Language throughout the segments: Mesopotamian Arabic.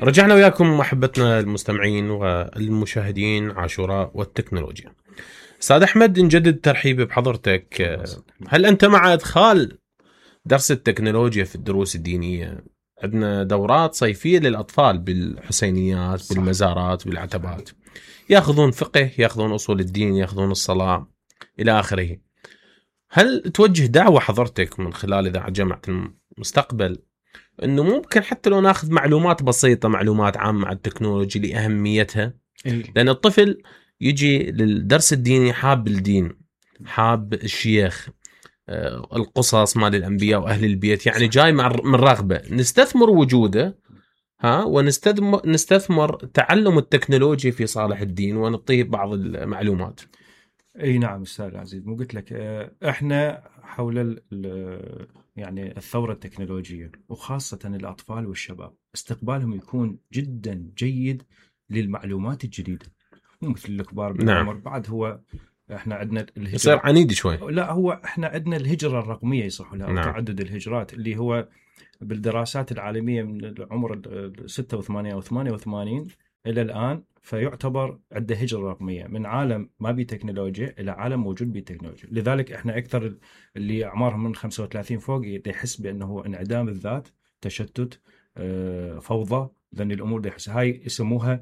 رجعنا وياكم محبتنا المستمعين والمشاهدين عاشوراء والتكنولوجيا. أستاذ أحمد، نجدد ترحيبي بحضرتك. هل أنت مع إدخال درس التكنولوجيا في الدروس الدينية؟ عندنا دورات صيفية للأطفال بالحسينيات، بالمزارات، بالعتبات، يأخذون فقه، يأخذون أصول الدين، يأخذون الصلاة إلى آخره. هل توجه دعوة حضرتك من خلال إذاعة جامعة المستقبل إنه ممكن حتى لو ناخذ معلومات بسيطة، معلومات عامة عن التكنولوجيا لأهميتها؟ لأن الطفل يجي للدرس الديني حاب الدين، حاب الشيخ، القصص مال الأنبياء وأهل البيت، يعني جاي من رغبة نستثمر وجوده ونستثمر تعلم التكنولوجيا في صالح الدين ونعطيه بعض المعلومات. اي نعم استاذ العزيز، مو قلت لك احنا حول يعني الثورة التكنولوجية، وخاصة الأطفال والشباب استقبالهم يكون جدا جيد للمعلومات الجديدة، مو مثل الكبار بالعمر. نعم. بعد هو احنا عندنا الهجرة يصير عنيد شوي. لا، هو احنا عندنا الهجرة الرقمية يصح لها. نعم. تعدد الهجرات اللي هو بالدراسات العالمية من العمر 86 أو 88 إلى الآن، فيعتبر عنده هجرة رقمية من عالم ما بيه تكنولوجيا إلى عالم موجود بيه تكنولوجيا. لذلك إحنا أكثر اللي أعمارهم من 35 فوق يحس بأنه انعدام الذات، تشتت، فوضى، لأن الأمور دي يحس هاي يسموها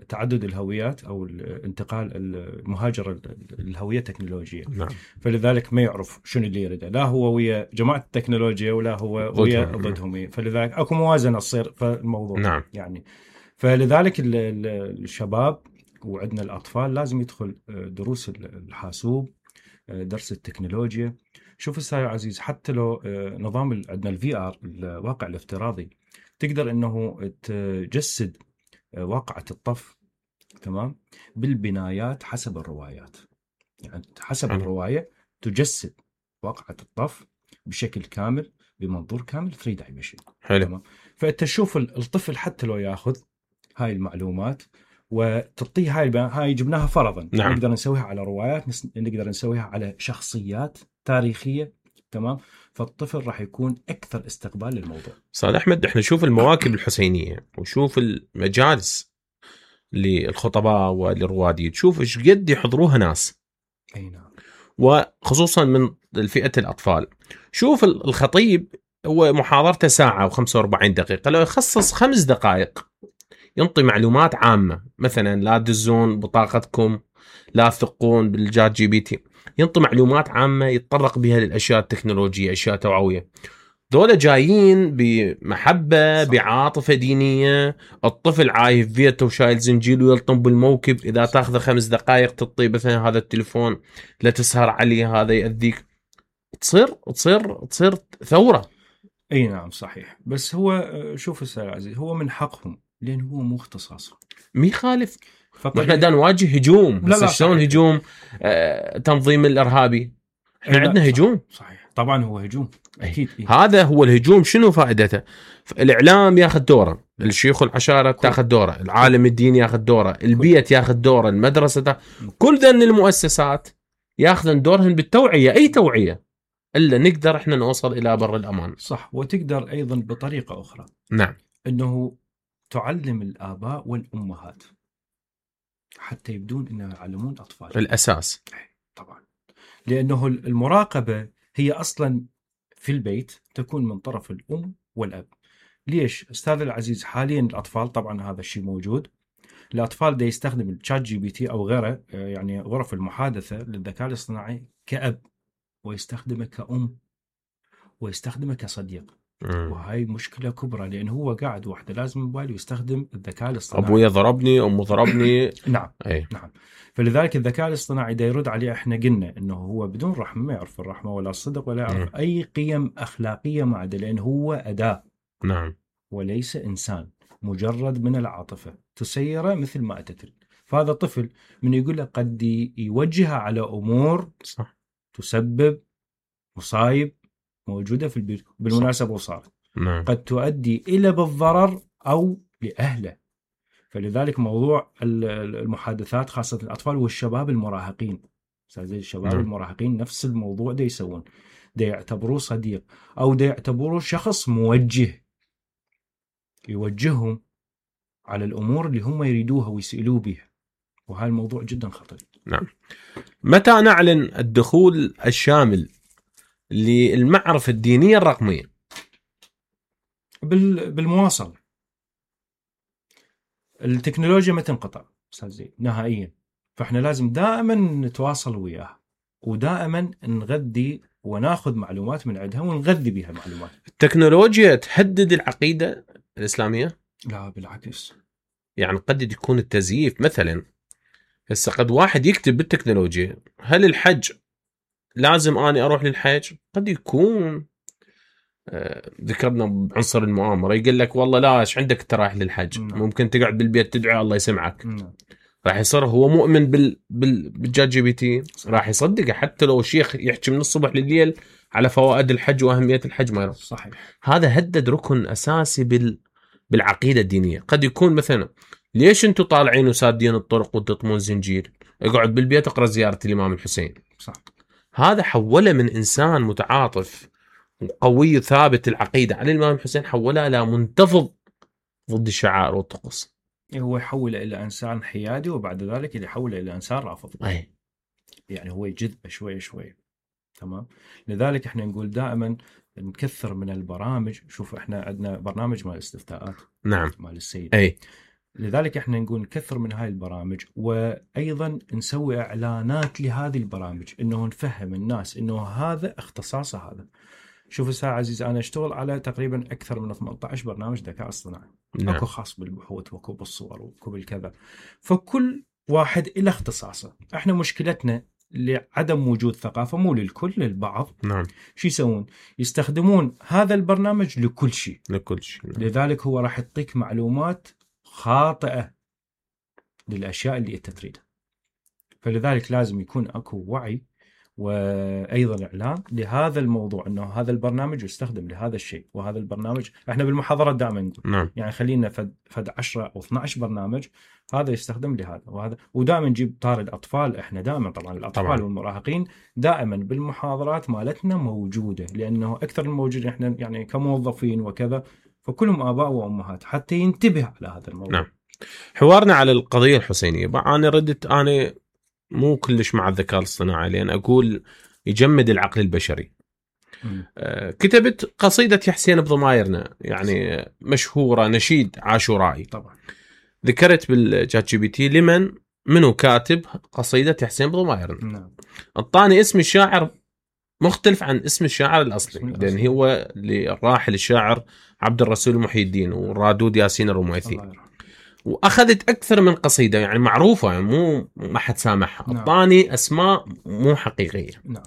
تعدد الهويات أو الانتقال المهاجرة الهوية التكنولوجية. نعم. فلذلك ما يعرف شنو اللي يريده، لا هو ويا جماعة التكنولوجيا ولا هو ويا ضدهم. فلذلك أكو موازنة تصير في الموضوع. نعم. يعني فلذلك الشباب وعندنا الأطفال لازم يدخل دروس الحاسوب، درس التكنولوجيا. شوف أستاذ عزيز، حتى لو نظام عندنا الVR الواقع الافتراضي، تقدر أنه تجسد واقعة الطف، تمام، بالبنايات حسب الروايات. يعني حسب الرواية تجسد واقعة الطف بشكل كامل، بمنظور كامل 3 dimension. حلو. تمام. فأنت تشوف الطفل حتى لو يأخذ هاي المعلومات وتعطيه هاي جبناها فرضا. نعم. نقدر نسويها على روايات، نقدر نسويها على شخصيات تاريخية. تمام. فالطفل راح يكون أكثر استقبال للموضوع. صالح أحمد، احنا نشوف المواكب الحسينية ونشوف المجالس للخطباء وللروادي، تشوف ايش قد يحضروها ناس. أي نعم. وخصوصا من الفئة الأطفال. شوف الخطيب هو محاضرته ساعة و45 دقيقة، لو يخصص 5 دقائق ينطي معلومات عامة، مثلا لا تدزون بطاقتكم، لا تثقون بالجات GPT، ينطي معلومات عامة يتطرق بها للأشياء التكنولوجية، أشياء توعوية. دولة جايين بمحبة، صح. بعاطفة دينية. الطفل عايف بيته وشايل زنجيل ويلطم بالموكب، إذا تأخذ 5 دقائق تطي مثلا هذا التليفون لا تسهر عليه، هذا يأذيك، تصير ثورة. أي نعم صحيح. بس هو شوف أستاذ عزيز، هو من حقهم لأن هو مو اختصاصه. مي خالف. احنا دا نواجه هجوم. لا شلون هجوم تنظيم الإرهابي؟ احنا عندنا هجوم. صحيح طبعا هو هجوم أكيد. هذا هو الهجوم. شنو فائدته؟ الإعلام ياخذ دوره، الشيوخ والعشائر تاخذ دوره، العالم الديني ياخذ دوره، البيت ياخذ دوره، المدرسة كل ذن المؤسسات ياخذن دورهن بالتوعية. أي توعية إلا نقدر إحنا نوصل إلى بر الأمان. صح. وتقدر أيضا بطريقة أخرى. نعم. أنه تعلم الآباء والأمهات حتى يبدون أنه يعلمون أطفال الأساس. طبعا، لأنه المراقبة هي أصلا في البيت تكون من طرف الأم والأب. ليش أستاذ العزيز؟ حاليا الأطفال طبعا هذا الشيء موجود، الأطفال دا يستخدم الشات GPT أو غيره، يعني غرف المحادثة للذكاء الاصطناعي كأب، ويستخدمه كأم، ويستخدمه كصديق. وهاي مشكلة كبرى، لأنه هو قاعد وحده لازم موبايل ويستخدم الذكاء الاصطناعي. أبويا ضربني، أمه ضربني. نعم. نعم. فلذلك الذكاء الاصطناعي دا يرد عليه. احنا قلنا انه هو بدون رحمة، ما يعرف الرحمة ولا الصدق ولا يعرف اي قيم اخلاقية ما عنده، لانه هو أداة. نعم. وليس انسان، مجرد من العاطفة تسيره مثل ما أتت. فهذا طفل من يقول له قد يوجهه على امور صح تسبب مصايب موجودة في البيت بالمناسبة وصارت. نعم. قد تؤدي إلى بالضرر أو لأهله. فلذلك موضوع المحادثات خاصة الأطفال والشباب المراهقين، زي الشباب المراهقين نفس الموضوع ده يسوون، ده يعتبروه صديق أو ده يعتبروه شخص موجه يوجههم على الأمور اللي هم يريدوها ويسألوا بها، وهذا الموضوع جدا خطير. نعم. متى نعلن الدخول الشامل للمعرفة الدينية الرقمية؟ بالمواصلة. التكنولوجيا ما تنقطع أستاذ زين نهائيا، فإحنا لازم دائما نتواصل وياها، ودائما نغذي وناخذ معلومات من عندها ونغذي بها معلومات. التكنولوجيا تهدد العقيدة الإسلامية؟ لا بالعكس. يعني قد يكون التزييف مثلا، هسه قد واحد يكتب بالتكنولوجيا هل الحج لازم أنا أروح للحج؟ قد يكون ذكرنا بعنصر المؤامرة يقول لك والله لا ايش عندك ترايح للحج، ممكن تقعد بالبيت تدعي الله يسمعك. راح يصير هو مؤمن بالجات جي بي تي، راح يصدقه حتى لو شيخ يحكي من الصبح لليل على فوائد الحج وأهمية الحج ما يروح. صحيح. هذا هدد ركن أساسي بالعقيدة الدينية. قد يكون مثلا ليش انتم طالعين وسادين الطرق وتطمون زنجير؟ اقعد بالبيت اقرأ زيارة الإمام الحسين. صح. هذا حوله من إنسان متعاطف وقوي ثابت العقيدة على الإمام الحسين، حوله إلى منتفض ضد الشعائر والطقوس. هو يحول إلى إنسان حيادي، وبعد ذلك يحول إلى إنسان رافض. أي. يعني هو يجذبه شوي شوي. تمام. لذلك احنا نقول دائما نكثر من البرامج. شوف احنا عندنا برنامج مال الاستفتاءات. نعم. مال السيد. أي. لذلك احنا نقول نكثر من هاي البرامج، وأيضا نسوي إعلانات لهذه البرامج، إنه نفهم الناس إنه هذا اختصاصه هذا. شوف أستاذ عزيز، أنا أشتغل على تقريبا أكثر من 18 برنامج ذكاء اصطناعي. نعم. أكو خاص بالبحوث وأكو بالصور وأكو بالكذا، فكل واحد إلى اختصاصه. احنا مشكلتنا لعدم وجود ثقافة، مو للكل، للبعض. نعم. شو يسوون؟ يستخدمون هذا البرنامج لكل شيء. لكل شيء. نعم. لذلك هو راح يعطيك معلومات خاطئة للأشياء اللي أنت تريدها. فلذلك لازم يكون أكو وعي وأيضا إعلان لهذا الموضوع، أنه هذا البرنامج يستخدم لهذا الشيء، وهذا البرنامج إحنا بالمحاضرات دائما نقول نعم. يعني خلينا فد 10 أو 12 برنامج هذا يستخدم لهذا وهذا، ودائما نجيب طار الأطفال. إحنا دائما طبعا الأطفال طبعاً. والمراهقين دائما بالمحاضرات مالتنا موجودة، لأنه أكثر الموجودين إحنا يعني كموظفين وكذا، فكلهم آباء وأمهات حتى ينتبه على هذا الموضوع. نعم. حوارنا على القضية الحسينية، أنا ردت أنا مو كلش مع الذكاء الاصطناعي، لأن أقول يجمد العقل البشري. كتبت قصيدة يا حسين بضمايرنا، يعني مشهورة، نشيد عاشورائي. طبعا. ذكرت بالجات جي بي تي لمن منو كاتب قصيدة يا حسين بضمايرنا. نعم. أعطاني اسم الشاعر مختلف عن اسم الشاعر الأصلي، لأن هو للراحل الشاعر عبد الرسول محي الدين والرادود ياسين الرميثي، واخذت اكثر من قصيده يعني معروفه، يعني مو ما حد سامعها. اعطاني اسماء مو حقيقيه. نعم.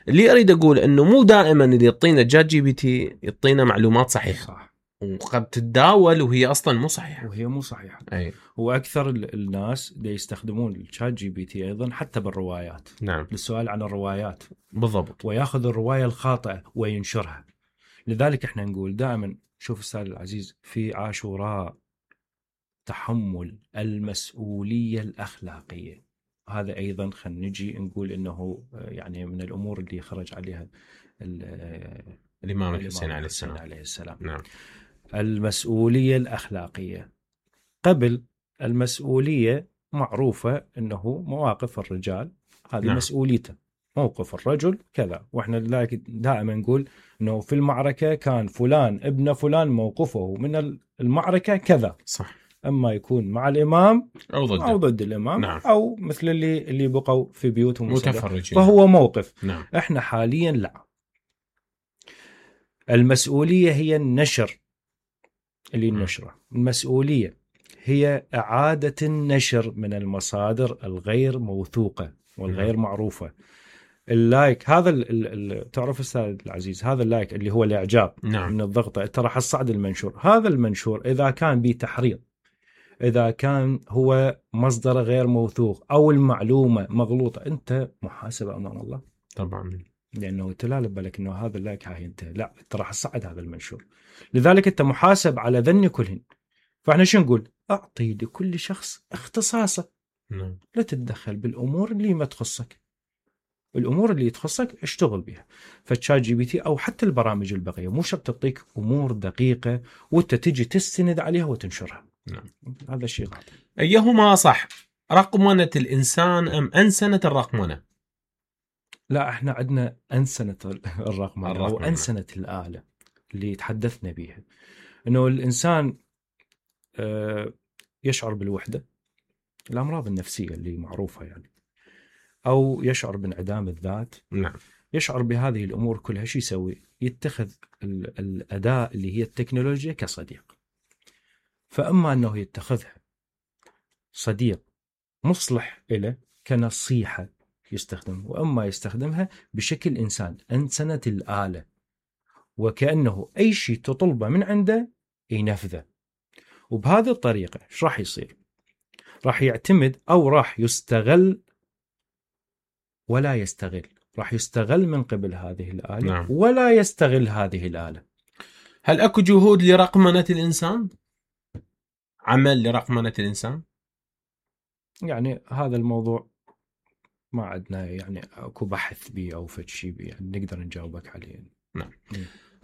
اللي اريد اقول انه مو دائما اللي يعطينا جات جي بي تي يعطينا معلومات صحيحه. صح. وقد تتداول وهي اصلا مو صحيحه. وهي مو صحيحه. اي. واكثر الناس اللي يستخدمون الشات جي بي تي ايضا حتى بالروايات. نعم. للسؤال عن الروايات. بالضبط. وياخذ الروايه الخاطئه وينشرها. لذلك احنا نقول دائما، شوف استاذ العزيز، في عاشوراء تحمل المسؤولية الأخلاقية. هذا أيضا خلينا نجي نقول إنه يعني من الأمور اللي خرج عليها الإمام الحسين عليه السلام. نعم. المسؤولية الأخلاقية. قبل المسؤولية معروفة إنه مواقف الرجال هذه. نعم. مسؤوليته موقف الرجل كذا، وإحنا لذلك دائما نقول إنه في المعركة كان فلان ابن فلان موقفه من المعركة كذا. صح. أما يكون مع الإمام أو ضد الإمام. نعم. أو مثل اللي بقوا في بيوتهم متفرجين، فهو موقف. نعم. إحنا حاليا لا، المسؤولية هي النشر اللي نشره. المسؤولية هي إعادة النشر من المصادر الغير موثوقة والغير معروفة. اللايك هذا تعرف أستاذ العزيز، هذا اللايك اللي هو الإعجاب. نعم. من الضغطة ترى حصعد المنشور. هذا المنشور إذا كان به تحريض، إذا كان هو مصدر غير موثوق أو المعلومة مغلوطة، أنت محاسب أمام الله طبعا، لأنه تلالب بالك أنه هذا اللايك هاي أنت لا، أنت راح تصعد هذا المنشور. لذلك أنت محاسب على ذن كلهن. فإحنا شو نقول؟ أعطي لكل شخص اختصاصه. نعم. لا تتدخل بالأمور اللي ما تخصك. الامور اللي تخصك اشتغل بها. فالشات جي بي تي او حتى البرامج البقيه مو شرط تعطيك امور دقيقه وانت تجي تستند عليها وتنشرها. نعم. هذا الشيء غلط. ايهما صح، رقمنه الانسان ام انسنه الرقمنه؟ لا، احنا عندنا انسنه الرقمنه او انسنه الاله اللي تحدثنا بها، انه الانسان يشعر بالوحده، الامراض النفسيه اللي معروفه يعني، او يشعر بانعدام الذات. نعم. يشعر بهذه الامور كلها، شو يسوي؟ يتخذ الاداه اللي هي التكنولوجيا كصديق. فاما انه يتخذها صديق مصلح له كنصيحه يستخدم، واما يستخدمها بشكل انسان، انسنه الاله، وكانه اي شيء تطلبه من عنده ينفذه. وبهذه الطريقه ايش راح يصير؟ راح يعتمد او راح يستغل ولا يستغل، راح يستغل من قبل هذه الآلة. نعم. ولا يستغل هذه الآلة. هل أكو جهود لرقمنة الإنسان؟ عمل لرقمنة الإنسان؟ يعني هذا الموضوع ما عندنا يعني أكو بحث به أو فد شيء به يعني نقدر نجاوبك عليه. نعم.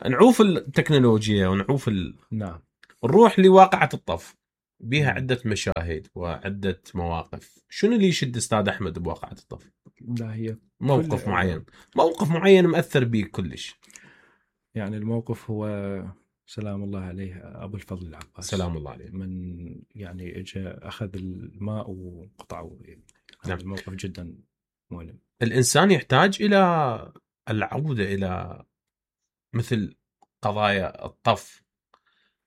نعوف التكنولوجيا ونعوف نعم. نروح لواقعة الطف، بها عدة مشاهد وعدة مواقف. شنو اللي يشد أستاذ أحمد بواقعة الطف؟ لا، هي موقف معين، موقف معين مأثر بيك كلش. يعني الموقف هو سلام الله عليه أبو الفضل العباس، سلام الله عليه، من يعني اجى أخذ الماء وقطعه. نعم. الموقف جدا مؤلم. الإنسان يحتاج إلى العودة إلى مثل قضايا الطف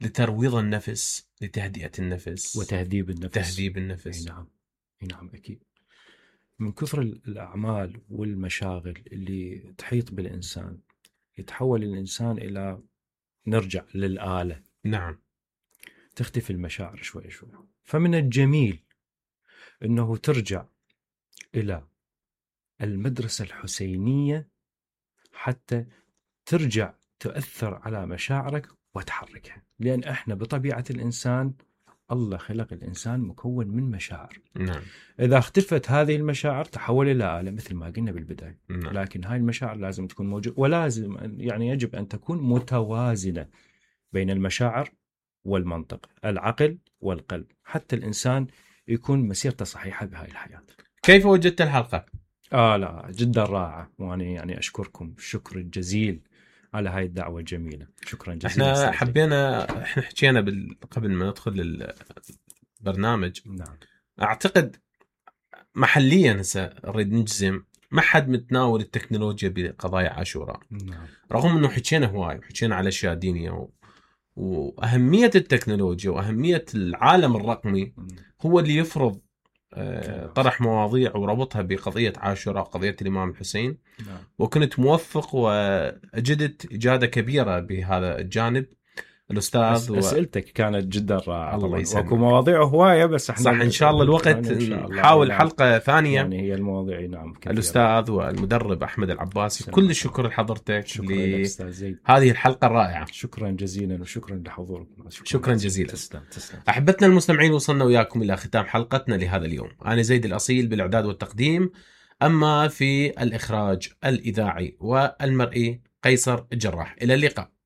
لترويض النفس، لتهدئة النفس وتهذيب النفس. تهذيب النفس. نعم. نعم أكيد. من كثر الأعمال والمشاغل اللي تحيط بالإنسان يتحول الإنسان إلى نرجع للآلة. نعم. تختفي المشاعر شوي شوي. فمن الجميل أنه ترجع إلى المدرسة الحسينية حتى ترجع تؤثر على مشاعرك وتحركها، لأن إحنا بطبيعة الإنسان الله خلق الإنسان مكون من مشاعر. نعم. إذا اختفت هذه المشاعر تحول إلى آلة مثل ما قلنا بالبداية. نعم. لكن هاي المشاعر لازم تكون موجودة، ولازم يعني يجب أن تكون متوازنة بين المشاعر والمنطق، العقل والقلب، حتى الإنسان يكون مسيرته صحيحة بهاي الحياة. كيف وجدت الحلقة؟ لا جدا رائعة، وأنا يعني أشكركم الشكر الجزيل على هاي الدعوة الجميلة. شكرا جزيلا. احنا حبينا، احنا حكينا قبل ما ندخل البرنامج. نعم. اعتقد محليا هسه نريد نجزم ما حد متناول التكنولوجيا بقضايا عاشوراء. نعم. رغم انه حكينا هواي، حكينا على اشياء دينيه واهميه التكنولوجيا واهميه العالم الرقمي هو اللي يفرض طرح مواضيع وربطها بقضيه عاشوراء، قضيه الامام الحسين. نعم. وكنت موفق واجدت اجاده كبيره بهذا الجانب. الاستاذ اسئلتك كانت جدا رائعه. الله يسلمك. وكو مواضيع هوايه بس احنا صح ان شاء الله الوقت نحاول حلقه ثانيه. يعني هي المواضيع نعم كثيرة. الاستاذ والمدرب احمد العباسي، كل الشكر لحضرتك لهذه الحلقه الرائعه. شكرا جزيلا وشكرا لحضوركم. شكرا جزيلا. تسلم. احبتنا المستمعين، وصلنا وياكم الى ختام حلقتنا لهذا اليوم. انا زيد الاصيل بالاعداد والتقديم، اما في الاخراج الاذاعي والمرئي قيصر الجراح. الى اللقاء.